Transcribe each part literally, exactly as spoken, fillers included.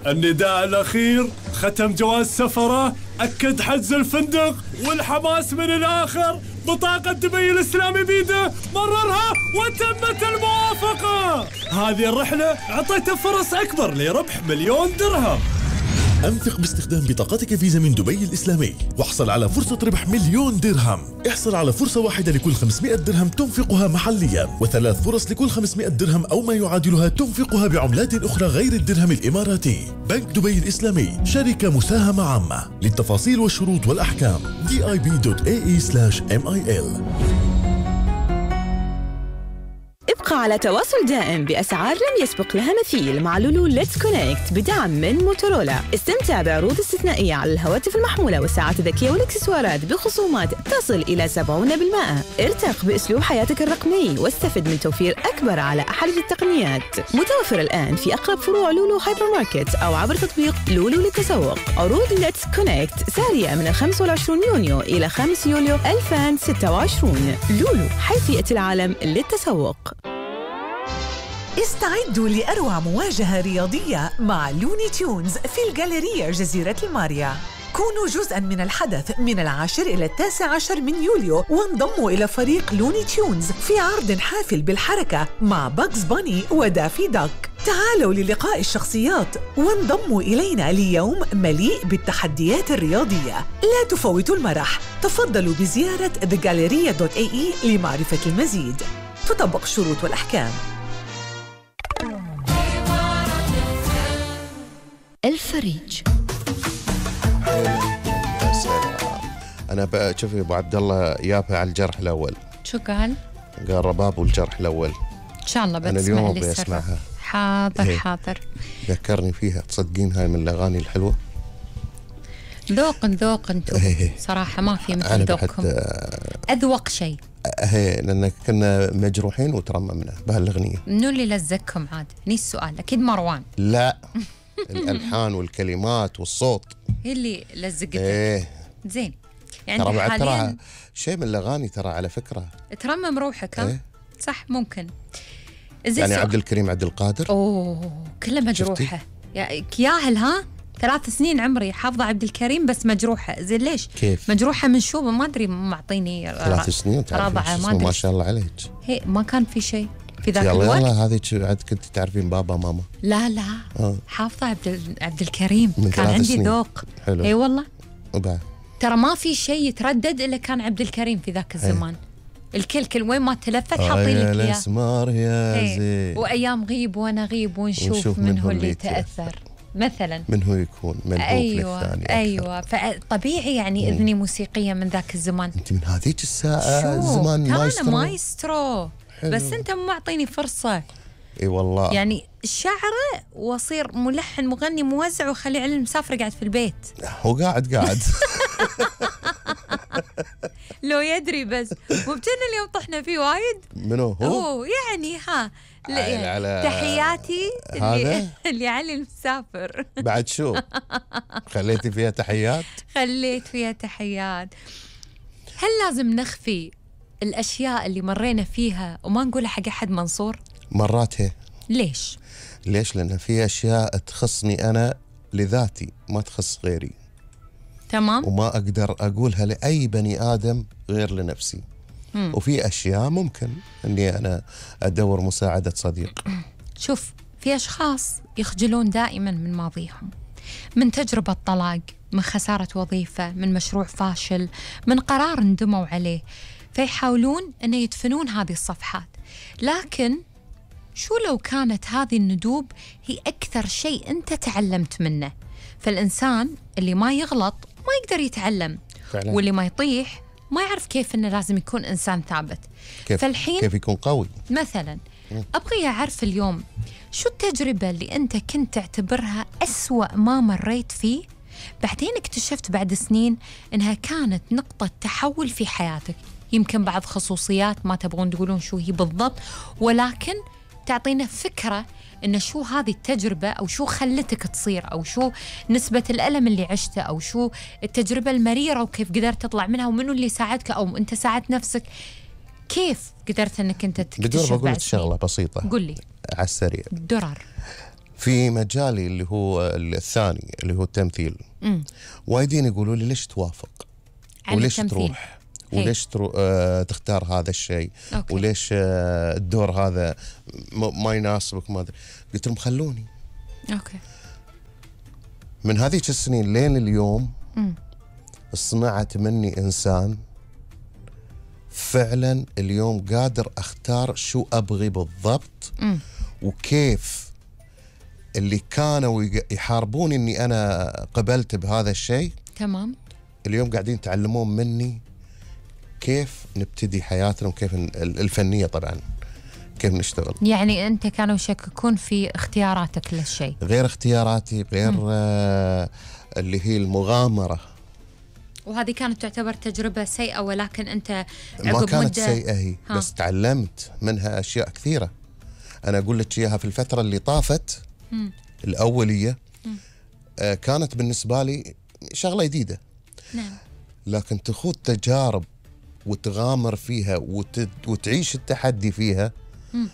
النداء الأخير ختم جواز سفره، أكد حجز الفندق، والحماس من الآخر. بطاقة دبي الإسلامي بيده، مررها وتمت الموافقة. هذه الرحلة أعطيته فرص أكبر لربح مليون درهم. أنفق باستخدام بطاقتك فيزا من دبي الإسلامي واحصل على فرصة ربح مليون درهم. احصل على فرصة واحدة لكل خمسمائة درهم تنفقها محليا، وثلاث فرص لكل خمسمائة درهم أو ما يعادلها تنفقها بعملات أخرى غير الدرهم الإماراتي. بنك دبي الإسلامي شركة مساهمة عامة. للتفاصيل والشروط والأحكام دي آي بي دوت إيه إي سلاش إم آي إل. ابقى على تواصل دائم بأسعار لم يسبق لها مثيل مع لولو ليتس كونكت بدعم من موتورولا. استمتع بعروض استثنائية على الهواتف المحمولة والساعات الذكية والإكسسوارات بخصومات تصل إلى سبعين بالمئة. ارتق بأسلوب حياتك الرقمي واستفد من توفير أكبر على أحدث التقنيات. متوفر الآن في أقرب فروع لولو هايبر ماركت أو عبر تطبيق لولو للتسوق. عروض ليتس كونكت سارية من الخامس والعشرين يونيو إلى خمسة يوليو ألفين وستة وعشرين. لولو، حيثية العالم للتسوق. استعدوا لأروع مواجهة رياضية مع لوني تيونز في الجاليرية جزيرة الماريا. كونوا جزءاً من الحدث من العاشر إلى التاسع عشر من يوليو، وانضموا إلى فريق لوني تيونز في عرض حافل بالحركة مع باكس باني ودافي داك. تعالوا للقاء الشخصيات وانضموا إلينا ليوم مليء بالتحديات الرياضية. لا تفوتوا المرح. تفضلوا بزيارة ذا جاليريا دوت إيه إي لمعرفة المزيد. تطبق الشروط والأحكام. الفريج. يا سلام. انا بقى شوفي ابو عبد الله يابا على الجرح الاول. شو قال؟ قال رباب والجرح الاول. ان شاء الله انا اليوم ابي اسمعها. حاضر هي. حاضر. ذكرني فيها، تصدقين هاي من الاغاني الحلوه. ذوق ذوق انتم صراحه ما في مثل ذوقكم. اذوق شيء. هي لان كنا مجروحين وترممنا بهالاغنيه. منو اللي لزقكم عاد؟ هني السؤال. اكيد مروان. لا الالحان والكلمات والصوت هي اللي لزقتك. ايه زين. يعني ترى حاليا ترى شيء من الاغاني ترى على فكره ترمم روحك. ها إيه؟ صح ممكن. يعني عبد الكريم عبد القادر اوه كله مجروحه ياهل. ها ثلاث سنين عمري حافظه عبد الكريم بس مجروحه. زين ليش؟ كيف مجروحه من شو ما ادري. معطيني ثلاث سنين رضعه ما ادري ما شاء الله عليك. هي ما كان في شيء في ذاك يلا الوقت. يلا هذه عاد كنت تعرفين بابا ماما. لا لا آه. حافظه عبد عبد الكريم كان عندي سنين. ذوق. حلو. اي والله. وبعد ترى ما في شيء يتردد الا كان عبد الكريم في ذاك الزمان. الكل كل وين ما تلفت حاطين لك اياه. الاسمار يا زين. وايام غيب وانا غيب ونشوف, ونشوف من هو اللي تاثر مثلا. من هو يكون من ايوه للثاني ايوه فطبيعي يعني مم. اذني موسيقيه من ذاك الزمان. انت من هذيك الساعه زمان مايسترو. انا مايسترو بس انت مو معطيني فرصه. اي والله يعني الشاعره واصير ملحن مغني موزع وخلي علي المسافر قاعد في البيت. هو قاعد قاعد لو يدري بس مو بتنا اليوم طحنا فيه وايد. منو هو؟ هو يعني ها يعني على تحياتي اللي, اللي علي المسافر. بعد شو خليتي فيها تحيات؟ خليت فيها تحيات. هل لازم نخفي الأشياء اللي مرينا فيها وما نقولها حق أحد منصور؟ مرات هي. ليش؟ ليش؟ لأن في أشياء تخصني أنا لذاتي ما تخص غيري. تمام. وما أقدر أقولها لأي بني آدم غير لنفسي. مم. وفي أشياء ممكن أني أنا أدور مساعدة صديق. شوف في أشخاص يخجلون دائما من ماضيهم، من تجربة طلاق، من خسارة وظيفة، من مشروع فاشل، من قرار ندموا عليه، فيحاولون أن يدفنون هذه الصفحات. لكن شو لو كانت هذه الندوب هي أكثر شيء أنت تعلمت منه؟ فالإنسان اللي ما يغلط ما يقدر يتعلم فعلا. واللي ما يطيح ما يعرف كيف إنه لازم يكون إنسان ثابت. كيف فالحين كيف يكون قوي مثلا. أبغي أعرف اليوم شو التجربة اللي أنت كنت تعتبرها أسوأ ما مريت فيه، بعدين اكتشفت بعد سنين إنها كانت نقطة تحول في حياتك. يمكن بعض خصوصيات ما تبغون تقولون شو هي بالضبط، ولكن تعطينا فكرة إن شو هذه التجربة، أو شو خلتك تصير، أو شو نسبة الألم اللي عشته، أو شو التجربة المريرة وكيف قدرت تطلع منها، ومنو اللي ساعدك أو أنت ساعدت نفسك. كيف قدرت أنك أنت تكتشف؟ بدور بقول لك شغلة بسيطة. قل لي على السريع. درر. في مجالي اللي هو الثاني اللي هو التمثيل، وايدين يقولوا لي ليش توافق وليش التمثيل. تروح وليش ترو... آه تختار هذا الشيء، وليش آه الدور هذا م... ما يناسبك ما أدري. قلت لهم خلوني. اوكي. من هذيك السنين لين اليوم م. صنعت مني إنسان فعلا اليوم قادر أختار شو أبغي بالضبط، م. وكيف اللي كانوا يحاربون إني أنا قبلت بهذا الشيء تمام اليوم قاعدين يتعلمون مني كيف نبتدي حياتنا وكيف الفنية طبعا كيف نشتغل. يعني أنت كانوا يشككون في اختياراتك للشيء؟ غير اختياراتي، غير آه اللي هي المغامرة. وهذه كانت تعتبر تجربة سيئة، ولكن أنت ما كانت سيئة هي ها. بس تعلمت منها أشياء كثيرة. أنا أقول لك إياها في الفترة اللي طافت م. الأولية آه كانت بالنسبة لي شغلة جديدة. نعم. لكن تخوض تجارب وتغامر فيها وت... وتعيش التحدي فيها م.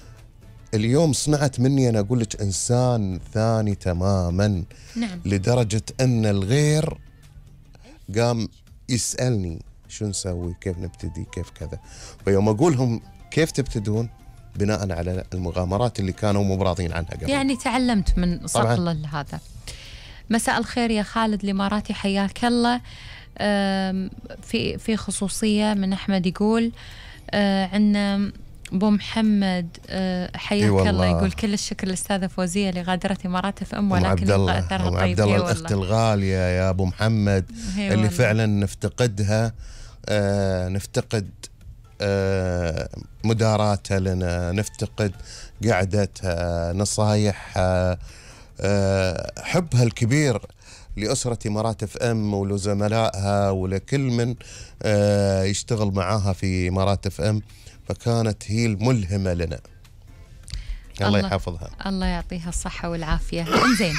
اليوم صنعت مني أنا أقول لك إنسان ثاني تماما. نعم. لدرجة أن الغير قام يسألني شو نسوي، كيف نبتدي، كيف كذا. فيوم أقولهم كيف تبتدون بناء على المغامرات اللي كانوا مو راضين عنها قبل. يعني تعلمت من صقل هذا. مساء الخير يا خالد الإماراتي، حياك الله. في في خصوصية من أحمد يقول عندنا أبو محمد حياك الله، يقول كل الشكر للأستاذة فوزية لغادرة إمارات اف ام، ولكن يبقى أثرها طيب. عبد الله الأخت الغالية يا أبو محمد اللي والله. فعلا نفتقدها، آه نفتقد آه مداراتها لنا، نفتقد قعدتها، نصايحها، آه حبها الكبير لأسرة إمارات اف ام ولزملائها ولكل من آه يشتغل معاها في إمارات اف ام، فكانت هي الملهمة لنا. الله, الله يحفظها. الله يعطيها الصحة والعافية. انزين،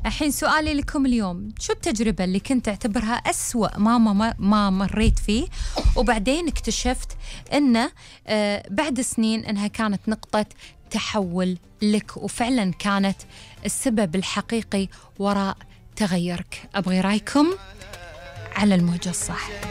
الحين سؤالي لكم اليوم، شو التجربة اللي كنت تعتبرها أسوأ ما, ما, ما مريت فيه وبعدين اكتشفت أنه آه بعد سنين أنها كانت نقطة تحول لك وفعلا كانت السبب الحقيقي وراء تغيرك؟ أبغي رأيكم على الموجة الصح.